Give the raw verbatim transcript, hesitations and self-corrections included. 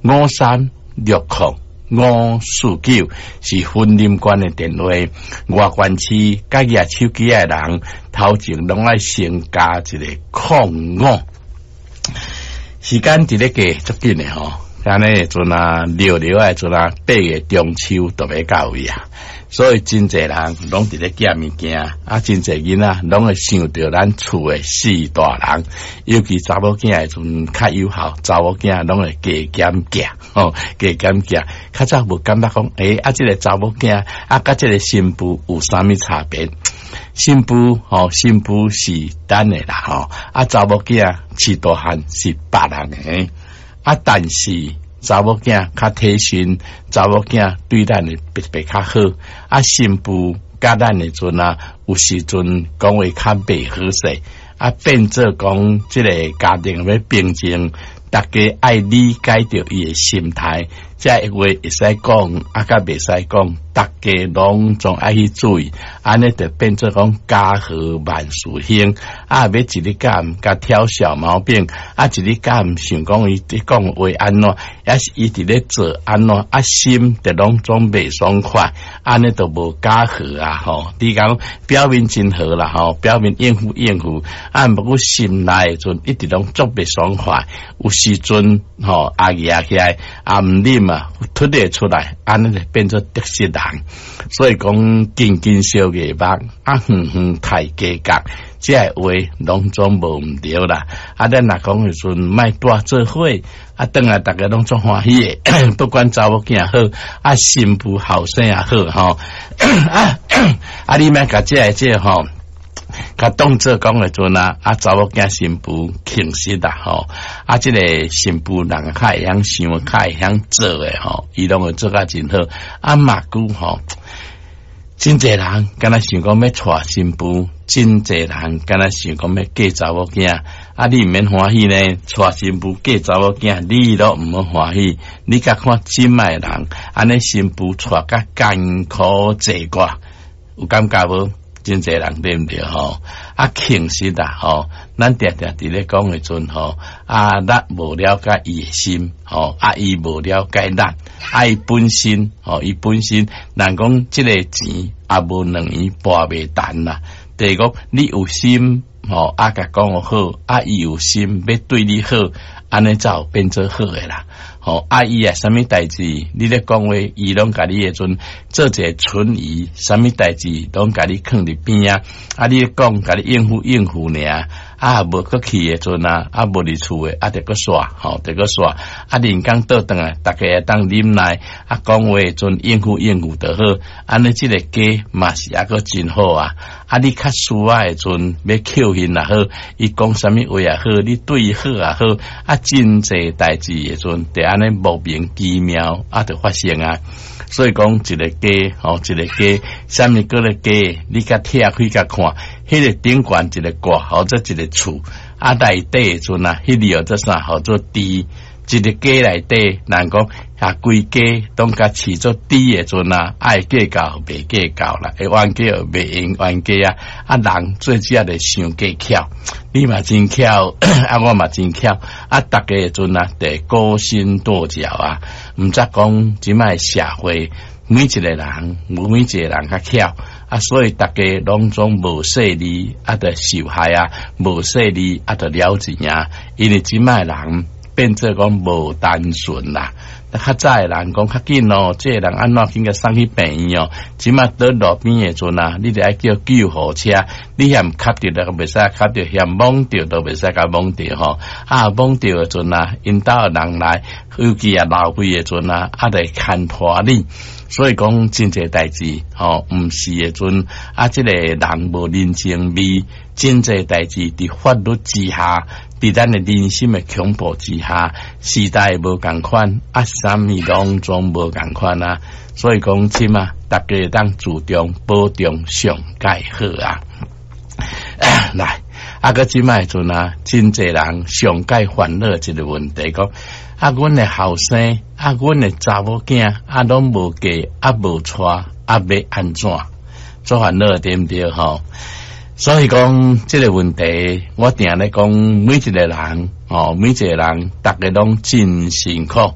五三六空五四九是雲林縣的電話。外縣市佮舉手機的人，頭前攏愛先加一个空五。時間佇咧過足緊的吼，按呢時陣啊，六六的時陣啊，八月中秋就欲到位啊，所以真濟人攏佇咧寄物件，啊，真濟囡仔攏會想著咱厝的四大人，尤其查某囝的時陣較有效，查某囝攏會加減寄，吼，加減寄。較早無感覺講，欸，啊，這个查某囝啊，佮這个新婦有啥物差別？新婦吼，新婦是咱的啦吼，啊，查某囝飼大漢是別人的，啊，但是查某囝較體心，查某囝對咱會特別較好，啊，新婦佮咱的陣啊，有時陣講話較袂好勢，啊，變做講這个家庭欲平靜，逐家愛理解著伊的心態，這個話會使講，啊，佮袂使講，逐家攏總愛去注意，按呢就變做講家和萬事興。啊，欲一日敢共挑小毛病，啊，一日敢想講伊佇講話按怎，抑是伊佇咧做按怎，啊，心就攏總袂爽快，按呢就無家和啊吼。你講表面真好啦吼，表面應付應付，啊，毋過心內陣一直攏足袂爽快，有時陣吼壓壓起來，啊毋忍啊，吐咧出來，按呢就變做得失人。所以講近近相月目，啊遠遠刣雞角，這个話攏總無毋著啦。啊，咱若講的時陣，莫蹛做伙，啊，轉來逐家攏足歡喜的，不管查某囝好，啊，新婦後生也好，吼，啊，啊，你莫共這个這个吼，共當做講的陣啊，啊，查某囝新婦誠實啦，吼，啊，這个新婦人較會曉想，較會曉做的吼，伊攏會做甲真好。啊，嘛閣吼，真濟人敢若想講欲娶新婦，真濟人敢若想講欲嫁查某囝。啊，你毋免歡喜呢，娶新婦嫁查某囝，你都毋好歡喜。你共看這擺的人，按呢新婦娶甲艱苦濟過，有感覺無？真濟人對毋對吼？啊，誠實啊吼，咱定定佇咧講的陣吼，啊，咱無了解伊的心吼，啊，伊無了解咱，啊，伊本身吼，伊本身，人講這个錢也無兩圓跋袂陳啦。就是講你有心吼，啊，共講好，啊，伊有心欲對你好，按呢才有變做好的啦。吼，啊，伊啊，啥物代誌，你咧講話，伊攏共你的陣做一个存疑，啥物代誌攏共你囥佇邊仔，啊，你咧講共你應付應付爾，啊，無閣去的陣啊，啊，無佇厝的，啊，就閣煞，吼，就閣煞，啊，人工倒轉來，逐家會當忍耐，啊，講話的陣應付應付就好，按呢這个家嘛是猶閣真好啊。啊，你較需要的陣欲扣印也好，伊講啥物話也好，你對伊好也好，啊，真濟代誌的陣，就按呢莫名其妙啊，就發生啊。所以講一个家，吼，一个家，啥物叫做家？你共拆開共看，彼个頂懸一个蓋，號做一个厝，啊，內底的陣啊，彼个號做啥？號做豬。一个家內底，人講啊，規家攏共飼做豬的陣啊，愛計較袂計較啦，會冤家袂用冤家啊。啊，人最主要就傷過巧，你嘛真巧，啊，我嘛真巧，啊，逐家的陣啊，就勾心鬥角啊，毋則講這擺社會每一个人，每一個人較巧。啊，所以逐家攏總無勢利，啊，就受害啊，無勢利啊，就了錢啊，因為這擺人變做講無單純啦。較早的人講較緊哦，這個人按怎緊共送去病院哦，這擺倒路邊的陣啊，你著愛叫救護車，你嫌磕著就袂使磕著，嫌摸著都袂使共摸著吼。啊，摸著的陣啊，𪜶兜的人來，尤其啊老歲的陣啊，啊，就會牽拖你。所以講真濟代誌吼，毋是的陣啊，這个人無人情味，真濟代誌佇法律之下，佇咱的人心的恐怖之下，時代無仝款，啊，啥物攏總無仝款啊。所以講，這擺逐家會當注重保重上蓋好啊。來，啊，閣這擺的陣啊，真濟人上蓋煩惱一個問題，講啊，阮的後生，啊，阮的查某囝，啊，攏無嫁，啊，無娶，啊，欲按怎？足煩惱對毋對吼？所以講這个問題，我定咧講，每一個人，吼，每一個人，逐家攏真辛苦。